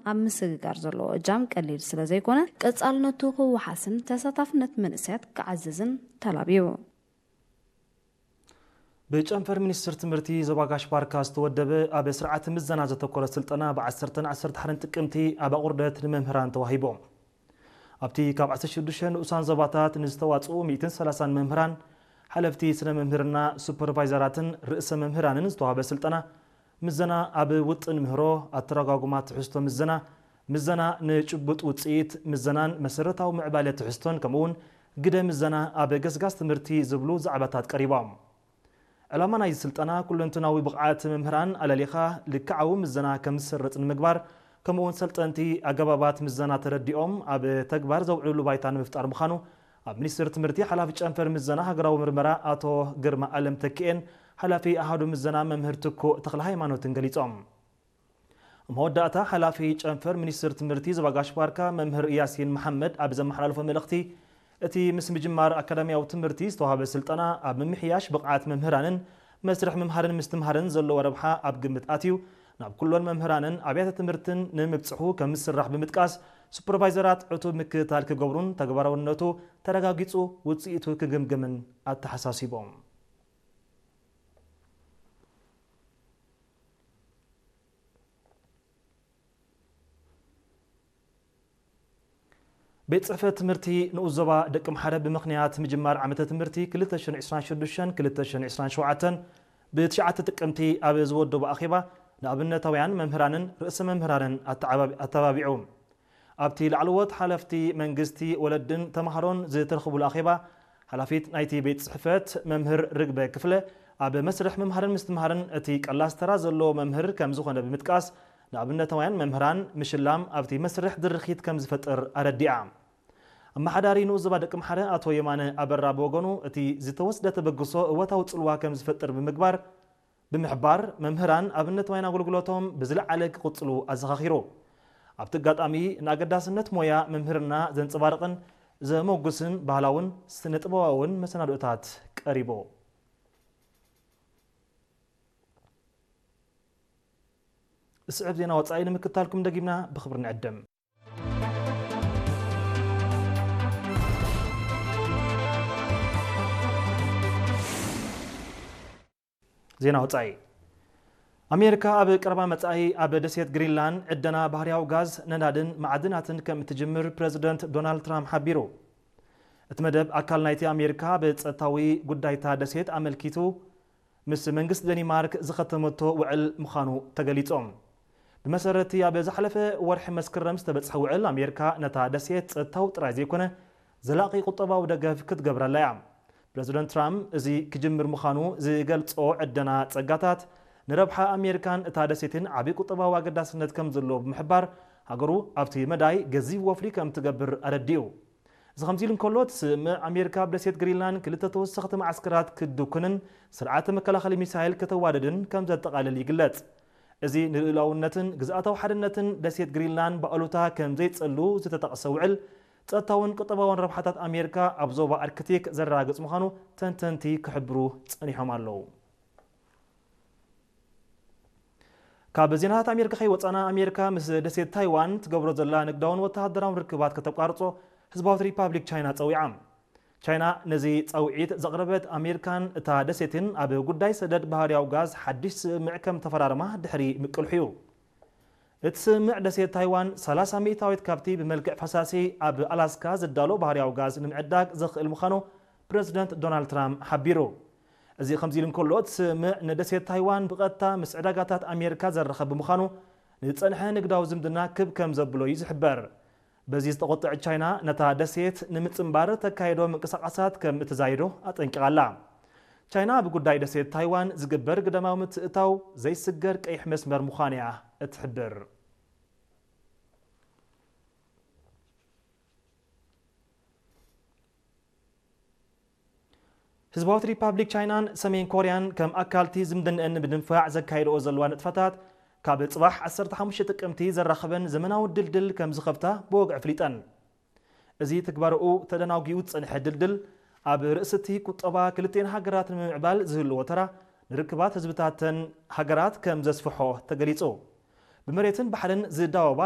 ኣብ ምስግጋር ዘለዎ እጃም ቀሊል ስለ ዘይኮነ፣ ቀጻልነቱ ክወሓስን ተሳታፍነት መንእሰያት ክዓዝዝን ተላብዩ። ብጨንፈር ሚኒስትር ትምህርቲ ዞባ ጋሽ ባርካ ዝተወደበ ኣብ ስርዓተ ምዘና ዘተኮረ ስልጠና ብ10ን ዓሰርተ ሓደን ጥቅምቲ ኣብ ኣቑርደት ንመምህራን ተዋሂቦም። ኣብቲ ካብ ዓሰርተ ሽዱሽተ ንኡሳን ዞባታት ንዝተዋፅኡ ሚእትን ሰላሳን መምህራን፣ ሓለፍቲ ስነ መምህርና፣ ሱፐርቫይዘራትን ርእሰ መምህራንን ዝተዋህበ ስልጠና፣ ምዘና ኣብ ውጥን ምህሮ፣ ኣተረጓጉማ ትሕዝቶ ምዘና፣ ምዘና ንጭቡጥ ውፅኢት ምዘናን መሰረታዊ ምዕባለ ትሕዝቶን ከምኡውን ግደ ምዘና ኣብ ገስጋስ ትምህርቲ ዝብሉ ዛዕባታት ቀሪቦም። ዕላማ ናይዚ ስልጠና ኩለንትናዊ ብቕዓት መምህራን ኣለሊኻ ልክዓዊ ምዘና ከም ዝስረጽ ንምግባር፣ ከምኡውን ሰልጠንቲ ኣገባባት ምዘና ተረዲኦም ኣብ ተግባር ዘውዕልሉ ባይታ ንምፍጣር ምዃኑ ኣብ ሚኒስቴር ትምህርቲ ሓላፊ ጨንፈር ምዘና ሃገራዊ ምርመራ ኣቶ ግርማ ኣለም ተኪኤን ሓላፊ ኣሃዱ ምዘና መምህር ትኩእ ተኽለ ሃይማኖትን ገሊጾም። ኣብ መወዳእታ ሓላፊ ጨንፈር ሚኒስቴር ትምህርቲ ዞባ ጋሽ ባርካ መምህር ያሲን መሓመድ ኣብ ዘመሓላለፎ መልእኽቲ፣ እቲ ምስ ምጅማር ኣካዳሚያዊ ትምህርቲ ዝተዋህበ ስልጠና ኣብ ምምሕያሽ ብቕዓት መምህራንን መስርሕ ምምሃርን ምስትምሃርን ዘለዎ ረብሓ ኣብ ግምት ኣትዩ ናብ ኩሎን መምህራንን ኣብያተ ትምህርትን ንምብጽሑ ከም ዝስራሕ ብምጥቃስ፣ ሱፐርቫይዘራት ዕቱብ ምክትታል ክገብሩን ተግባራውነቱ ተረጋጊጹ ውጽኢቱ ክግምግምን ኣተሓሳሲቦም። ቤት ጽሕፈት ትምህርቲ ንኡስ ዞባ ደቂ ምሓረ ብምኽንያት ምጅማር ዓመተ ትምህርቲ ክልተ ሽሕን ዕስራን ሽዱሽተን ክልተ ሽሕን ዕስራን ሸውዓተን ብትሽዓተ ጥቅምቲ ኣብ ዝወደቦ ኣኼባ ንኣብነታውያን መምህራንን ርእሰ መምህራንን ኣተዓባቢ-፣ ኣተባቢዑ። ኣብቲ ላዕለዎት ሓለፍቲ መንግስቲ፣ ወለድን ተምሃሮን ዝተረኽቡሉ ኣኼባ፣ ሓላፊት ናይቲ ቤት ጽሕፈት መምህር ርግበ ክፍለ ኣብ መስርሕ ምምሃርን ምስትምሃርን እቲ ቀላስ ተራ ዘለዎ መምህር ከም ዝኾነ ብምጥቃስ፣ ንኣብነታውያን መምህራን ምሽላም ኣብቲ መስርሕ ድርኺት ከም ዝፈጥር ኣረዲኣ። ኣመሓዳሪ ንኡስ ዞባ ደቂ ምሓረ ኣቶ የማነ ኣበራ ብወገኑ፣ እቲ ዝተወስደ ተበግሶ እወታዊ ጽልዋ ከም ዝፈጥር ብምግባር፣ ብምሕባር፣ መምህራን ኣብነታውያን ኣገልግሎቶም ብዝለዓለ ክቕጽሉ ኣዘኻኺሩ። ኣብቲ ኣጋጣሚ፣ ንኣገዳስነት ሞያ መምህርና ዘንጸባርቕን ዘሞጉስን ባህላውን ስነ-ጥበባውን መሰናድኦታት ቀሪቡ። ዝስዕብ ዜና ወጻኢ ንምክታልኩም ደጊምና ብኽብሪ ንዕድም። ዜና ወጻኢ። ኣሜሪካ ኣብ ቀረባ መጻኢ ኣብ ደሴት ግሪንላንድ ዕደና ባህርያዊ ጋዝ፣ ነዳድን ማዕድናትን ከም እትጅምር ፕረዚደንት ዶናልድ ትራምፕ ሓቢሩ። እቲ መደብ ኣካል ናይቲ ኣሜሪካ ብጸጥታዊ ጉዳይታ ደሴት ኣመልኪቱ ምስ መንግስቲ ደኒማርክ ዝኸተመቶ ውዕል ምዃኑ ተገሊጾም። ብመሰረትቲ ኣብ ዝሓለፈ ወርሒ መስከረም ዝተበጽሐ ውዕል፣ ኣሜሪካ ነታ ደሴት ጸጥታዊ ጥራይ ዘይኮነ ዘላቒ ቁጠባዊ ደገፍ ክትገብረላ እያ። ፕረዚደንት ትራምፕ እዚ ክጅምር ምዃኑ ዝገልጾ ዕደና ጸጋታት ንረብሓ ኣሜሪካን እታ ደሴትን ዓቢ ቁጠባዊ ኣገዳስነት ከም ዘለዎ ብምሕባር፣ ሃገሩ ኣብቲ መዳይ ገዚፍ ወፍሪ ከም ትገብር ኣረዲኡ። እዚ ከምዚ ኢሉ እንከሎ፣ እቲ ስምምዕ ኣሜሪካ ኣብ ደሴት ግሪንላንድ ክልተ ተወሰኽቲ መዓስከራት ክትድኩንን ስርዓተ መከላኸሊ ሚሳይል ከተዋድድን ከም ዘጠቓልል ይግለጽ። እዚ ንልኡላውነትን ግዝኣታዊ ሓድነትን ደሴት ግሪንላንድ ብኣሉታ ከም ዘይጸሉ ዝተጠቕሰ ውዕል፣ ጸጥታውን ቁጠባውን ረብሓታት ኣሜሪካ ኣብ ዞባ ኣርክቲክ ዘረጋግጽ ምዃኑ ተንተንቲ ክሕብሩ ጸኒሖም ኣለዉ። ካብ ዜናታት ኣሜሪካ ከይወጻና፣ ኣሜሪካ ምስ ደሴት ታይዋን ትገብሮ ዘላ ንግዳውን ወተሃደራውን ርክባት ከተቋርጾ ህዝባዊት ሪፓብሊክ ቻይና ጸዊዓ። ቻይና ነዚ ጻውዒት ዘቕረበት፣ ኣሜሪካን እታ ደሴትን ኣብ ጉዳይ ሰደድ ባህርያዊ ጋዝ ሓድሽ ስምምዕ ከም ተፈራረማ ድሕሪ ምቅልሑ እዩ። እቲ ስምምዕ ደሴት ታይዋን ሰላሳ ሚእታዊት ካብቲ ብመልክዕ ፈሳሲ ኣብ ኣላስካ ዝዳሎ ባህርያዊ ጋዝ ንምዕዳግ ዘኽእል ምዃኑ ፕረዚደንት ዶናልድ ትራምፕ ሓቢሩ። እዚ ከምዚ ኢሉ እንከሎ፣ እቲ ስምምዕ ንደሴት ታይዋን ብቐጥታ ምስ ዕዳጋታት ኣሜሪካ ዘራኽብ ብምዃኑ፣ ንዝጸንሐ ንግዳዊ ዝምድና ክብ ከም ዘብሎ እዩ ዝሕበር። በዚ ዝተቖጥዐት ቻይና፣ ነታ ደሴት ንምጽንባር ተካይዶ ምንቅስቓሳት ከም እተዛይዶ ኣጠንቂቓ ኣላ። ቻይና ኣብ ጉዳይ ደሴት ታይዋን ዝግበር ግዳማዊ ምትእትታው ዘይስገር ቀይሕ መስመር ምዃኑ እያ እትሕብር። ህዝባዊት ሪፓብሊክ ቻይናን ሰሜን ኮርያን ከም ኣካልቲ ዝምድንአን ንምድንፋዕ ዘካይድኦ ዘለዋ ንጥፈታት፣ ካብ ጽባሕ ዓሰርተ ሓሙሽተ ጥቅምቲ ዘራኽበን ዘመናዊ ድልድል ከም ዝኸፍታ ብወግዒ ኣፍሊጠን። እዚ ትግባረኡ ተደናጒኡ ዝጸንሐ ድልድል፣ ኣብ ርእሲ እቲ ቁጠባ ክልቲኤን ሃገራት ንምምዕባል ዝህልዎ ተራ፣ ንርክባት ህዝብታተን ሃገራት ከም ዘስፍሖ ተገሊጹ። ብመሬትን ባሕርን ዝዳወባ